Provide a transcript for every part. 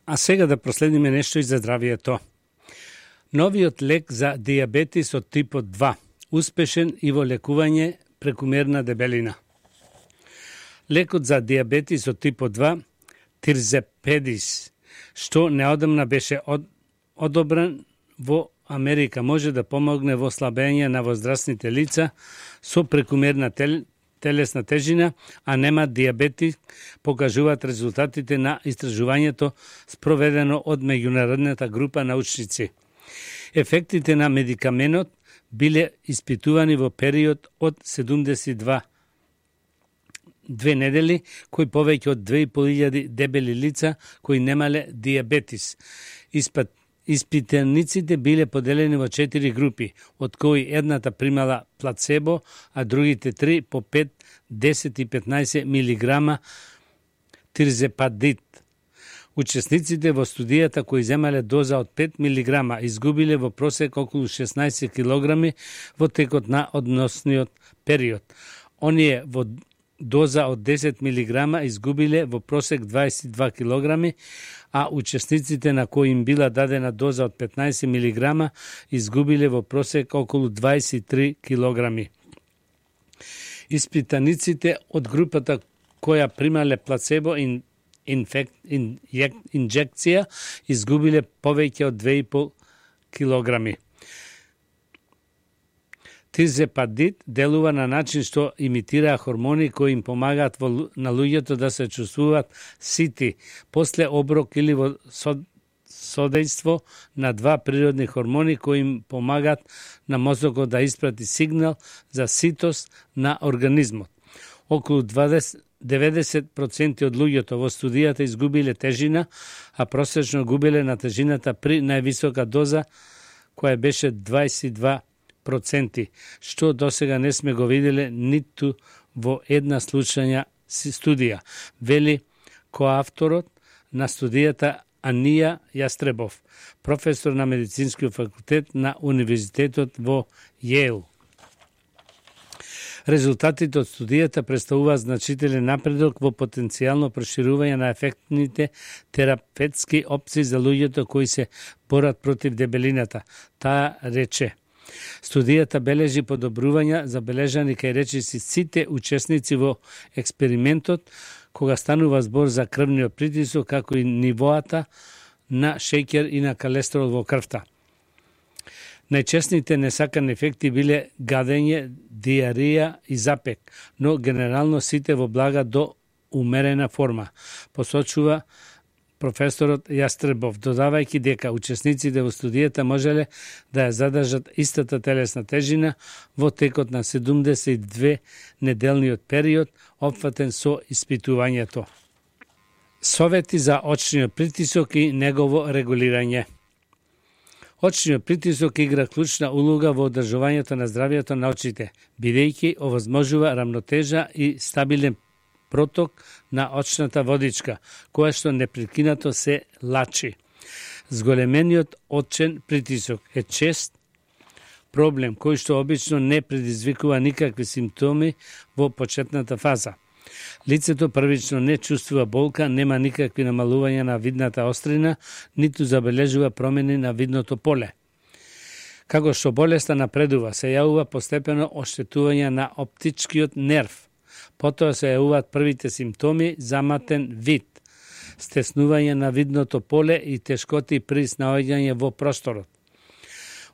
А сега да проследиме нешто и за здравието. Новиот лек за дијабетис од типот 2, успешен и во лекување прекумерна дебелина. Лекот за дијабетис од типот 2, Тирзепедис, што неодамна беше одобрен во Америка, може да помогне во слабење на возрастните лица со прекумерна телесна тежина, а нема дијабетик, покажуваат резултатите на истражувањето спроведено од меѓународната група научници. Ефектите на медикаменот биле испитувани во период од 72 недели, кои повеќе од 2500 дебели лица кои немале дијабетис. Испитаниците биле поделени во 4 групи, од кои едната примала плацебо, а другите 3 по 5, 10 и 15 милиграма тирзепадит. Учесниците во студијата кои земале доза од 5 милиграма изгубиле во просек околу 16 килограми во текот на односниот период. Оние во доза од 10 милиграма изгубиле во просек 22 килограми, а учесниците на кои им била дадена доза од 15 милиграма изгубиле во просек околу 23 килограми. Испитаниците од групата која примале плацебо инжекција изгубиле повеќе од 2,5 килограми. Тирзепадит делува на начин што имитира хормони кои им помагаат на луѓето да се чувствуваат сити после оброк или во содејство на два природни хормони кои им помагаат на мозокот да испрати сигнал за ситост на организмот. Околу 90% од луѓето во студијата изгубиле тежина, а просечно губеле на тежината при највисока доза која беше 22%, што досега не сме го виделе ниту во една случајна студија, вели коавторот на студијата Анија Јастребов, професор на медицинскиот факултет на Универзитетот во Јейл. Резултатите од студијата представуваат значителен напредок во потенцијално проширување на ефектните терапевтски опции за луѓето кои се борат против дебелината. Таа рече: студијата бележи подобрувања забележани кај речиси сите учесници во експериментот, кога станува збор за крвниот притисок, како и нивоата на шеќер и на колестерол во крвта. Најчесните несакани ефекти биле гадење, диарија и запек, но генерално сите во блага до умерена форма, посочува професорот Јастребов, додавајќи дека учесниците во студијата можеле да ја задржат истата телесна тежина во текот на 72 неделниот период, опфатен со испитувањето. Совети за очниот притисок и негово регулирање. Очниот притисок игра клучна улога во одржувањето на здравието на очите, бидејќи овозможува рамнотежа и стабилен проток на очната водичка, која што непрекинато се лачи. Зголемениот очен притисок е чест проблем кој што обично не предизвикува никакви симптоми во почетната фаза. Лицето првично не чувствува болка, нема никакви намалувања на видната острина, ниту забележува промени на видното поле. Како што болеста напредува, се јавува постепено оштетување на оптичкиот нерв. Потоа се јавуваат првите симптоми, заматен вид, стеснување на видното поле и тешкоти при снаоѓање во просторот.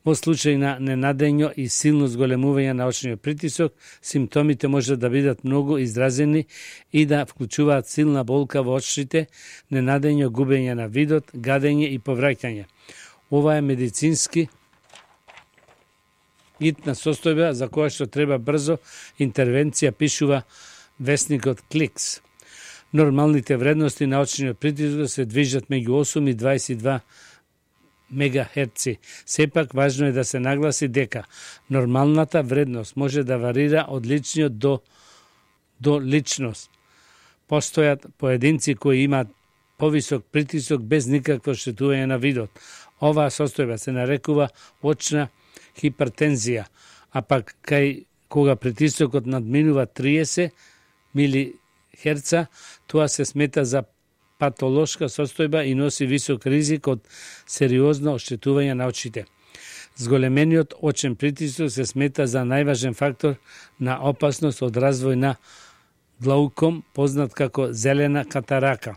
Во случај на ненадењно и силно зголемување на очниот притисок, симптомите може да бидат многу изразени и да вклучуваат силна болка во очите, ненадењно губење на видот, гадење и повраќање. Ова е медицински итна состојба за која што треба брзо интервенција, пишува весникот Кликс. Нормалните вредности на очниот притисок се движат меѓу 8 и 22 мегахерци. Сепак важно е да се нагласи дека нормалната вредност може да варира од личниот до личност. Постојат поединци кои имаат повисок притисок без никакво штетување на видот. Оваа состојба се нарекува очна хипертензија, а пак кога притисокот надминува 30 милихерца, тоа се смета за патолошка состојба и носи висок ризик од сериозно оштетување на очите. Зголемениот очен притисок се смета за најважен фактор на опасност од развој на глауком, познат како зелена катарака.